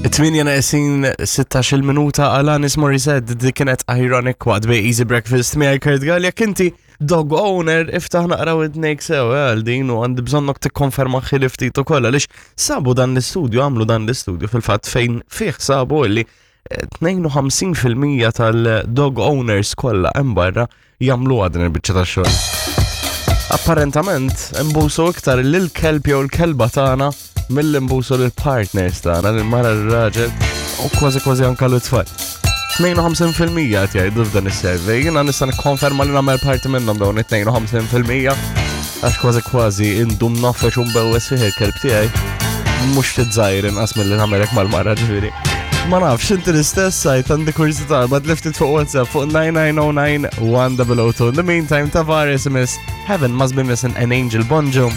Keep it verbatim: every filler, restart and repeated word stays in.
Tmienja neqsin sittax-il minuta, Alanis Morissette, dik kienet Ironic waqt bi Easy Breakfast miegħi Kurt Galea. Jekk inti dog owner, iftaħ naqra widnejk sew eh, għal din u għandi bżonnok tikkonferma xi ftit ukoll, għaliex sabu dan l-istudju, għamlu dan l-istudju fil-fatt, fejn fih sabu illi eh, tnejn u ħamsin fil-mija tal-dog owners kollha hemm barra jagħmlu din il-biċċa tax-xogħol. Apparentament, imbusu iktar lil-kelb jew l-kelba tagħna milli nbusu lill-partners tagħna, lill-mara, r-raġel u kważi kważi anka l-tfal. tnejn u ħamsin fil-mija qed jgħidu f'dan is-survey. Jiena nista' nikkonferma li nagħmel parti minnhom dawn it-tnejn u ħamsin fil-mija, għax kważi kważi indum nofex u mbewwes fih il-kelb tiegħi. Mhux ftit żgħir inqas milli nagħmel hekk mal-mara, ġifieri. Ma nafx, inti l-istess sajt, għandi kurżità, ma tliftit fuq WhatsApp fuq nine nine zero nine one zero zero two. In the meantime, Tavares miss Heaven Must Be Missing an Angel. Bonġu.